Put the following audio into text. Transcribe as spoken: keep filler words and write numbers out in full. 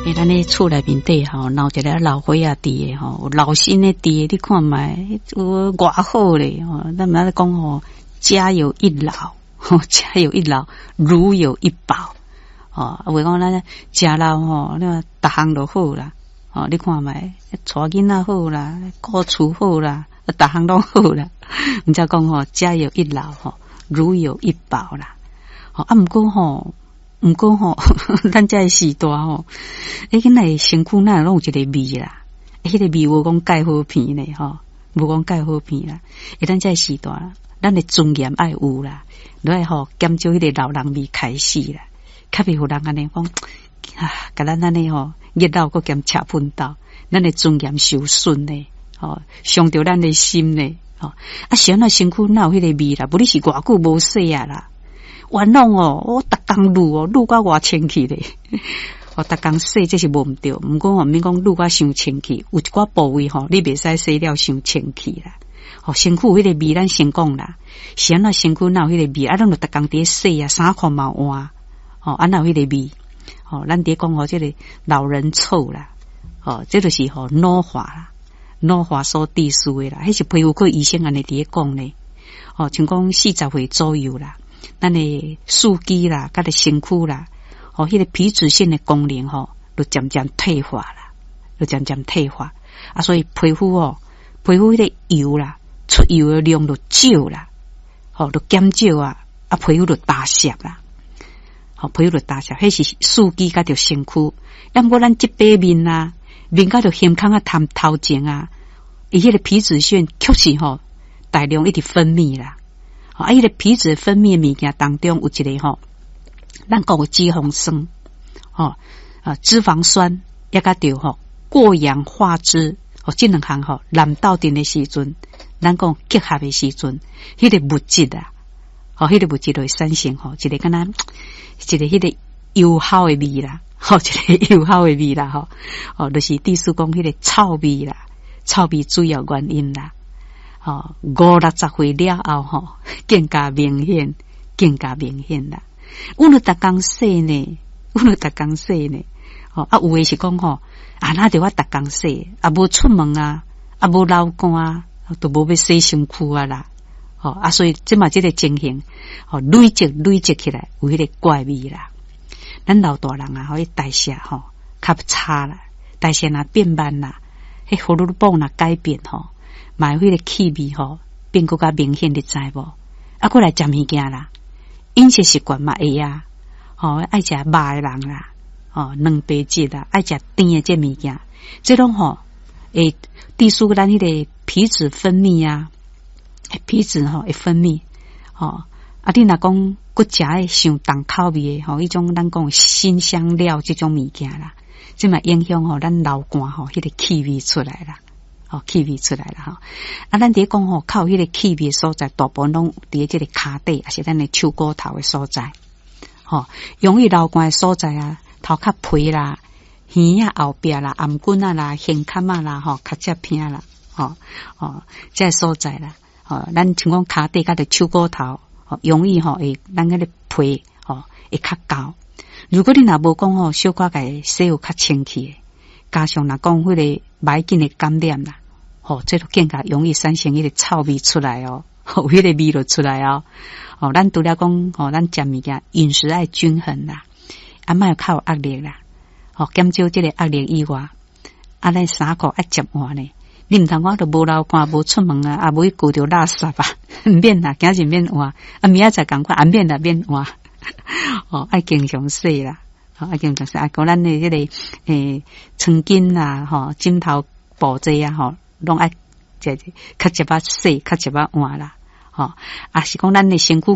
欸，咱咧厝內面底吼，若有一个老歲仔佇的吼，有老身的佇的，你看覓有偌好咧吼。咱毋咧講吼，家有一老，家有一老，如有一寶。吼，話講咱食老吼，你看逐項都好啦。吼，你看覓，帶囡仔好啦，顧厝好啦，逐項攏好啦。毋才講吼，家有一老吼，如有一寶啦。吼，啊，毋過吼。毋過吼，咱這个時代吼，欸，囡仔身軀哪會攏有一個味啦？彼個味無講蓋好鼻呢，吼，無講蓋好鼻啦。欸，咱這个時代，咱的尊嚴愛有啦，你愛吼減少彼個老人味開始啦，較袂予人按呢講啊，共咱按呢吼熱鬧閣兼赤噴斗，咱的尊嚴受損呢，吼，傷著咱的心呢，吼。啊，是按怎身軀哪有彼個味啦？無你是偌久無洗啊啦？原來哦，我逐工滷哦，滷甲偌清氣咧。我逐工洗這是無毋對，毋過吼，免講滷甲傷清氣，有一寡部位吼，你袂使洗了傷清氣啦。吼，身軀有彼個味，咱先講啦。是按怎身軀哪有彼個味？啊，咱就逐工佇咧洗啊，衫褲嘛換，吼，啊，哪有彼個味？吼，咱佇講吼，這個老人臭啦，吼，這就是吼老化啦，老化所致使的啦。彼是皮膚科醫生按呢佇咧講咧，吼，像講四十歲左右啦。咱的四肢啦，佮著身軀啦，吼，彼個皮脂腺的功能吼，就漸漸退化啦，就漸漸退化啊，所以皮膚哦，皮膚彼個油啦，出油的量就少啦，吼，就減少啊，啊，皮膚就焦澀啦，吼，皮膚就焦澀，彼是四肢佮著身軀，啊，毋過咱這塊面啊，面佮著胸腔啊，頭頭前啊，伊彼個皮脂腺確實吼大量一直分泌啦。啊，彼個皮脂分泌的物件當中有一個吼，咱講的脂肪酸，吼啊，脂肪酸，抑佮著吼過氧化脂，吼，這兩項吼濫鬥陣的時陣，咱講結合的時陣，彼個物質啊，吼，彼個物質就會產生吼，一個敢若一個彼個油餿的味啦，吼，一個油餿的味啦，吼，哦，就是意思講彼個臭味啦，臭味主要原因啦。吼，五六十歲了後，吼，更加明顯，更加明顯啦。阮就逐工洗呢，阮就逐工洗呢。吼，啊，有的是講吼，啊，哪著我逐工洗，啊，無出門啊，啊，無流汗啊，都無欲洗身軀啊啦。吼，啊，所以這馬這個情形，吼，累積累積起來，有彼個怪味啦。咱老大人啊，彼代謝吼較差啦，代謝若變慢啦，彼荷爾蒙若改變吼。嘛彼個氣味吼變閣較明顯，你知無？啊，閣來食物件啦，飲食習慣嘛會啊，吼愛食肉的人啦，吼蛋白質啦，愛食甜的這物件，這攏吼會致使咱彼個皮脂分泌啊，皮脂吼會分泌，吼啊，你若講閣食的傷重口味的吼，彼種咱講辛香料這種物件啦，這嘛影響吼咱流汗吼，彼個氣味出來啦。吼，氣味出來啦吼！啊，咱佇咧講吼，較有彼個氣味的所在，大部分攏佇咧這個跤底，抑是咱的手骨頭的所在。吼，容易流汗的所在啊，頭殼皮啦、耳仔後壁啦、頷頸仔啦、胸坎仔啦、吼，跤脊鼻啦，吼吼，這個所在啦。吼，咱像講跤底佮著手骨頭，吼，容易吼會咱彼個皮吼會較厚。如果你若無講吼，小可共洗有較清氣的，加上若講彼個袂要緊的感染啦。吼，這就更加容易產生彼個臭味出來哦，有彼個味就出來哦。吼，咱除了講吼，咱食物件飲食愛均衡啦，啊，莫較有壓力啦，吼，減少這個壓力以外，啊，咱衫褲愛捷換呢。你毋通講都無流汗，無出門啊，啊，無去顧著垃圾啊，毋免啦，今日免換，啊，明仔載仝款，啊，免啦，免換。吼，愛經常洗啦，吼，愛經常洗，啊，閣咱的彼個欸，床巾啦，吼，枕頭布這啊，吼。攏愛這較捷仔洗，較捷仔換啦，吼，啊是講咱的身軀。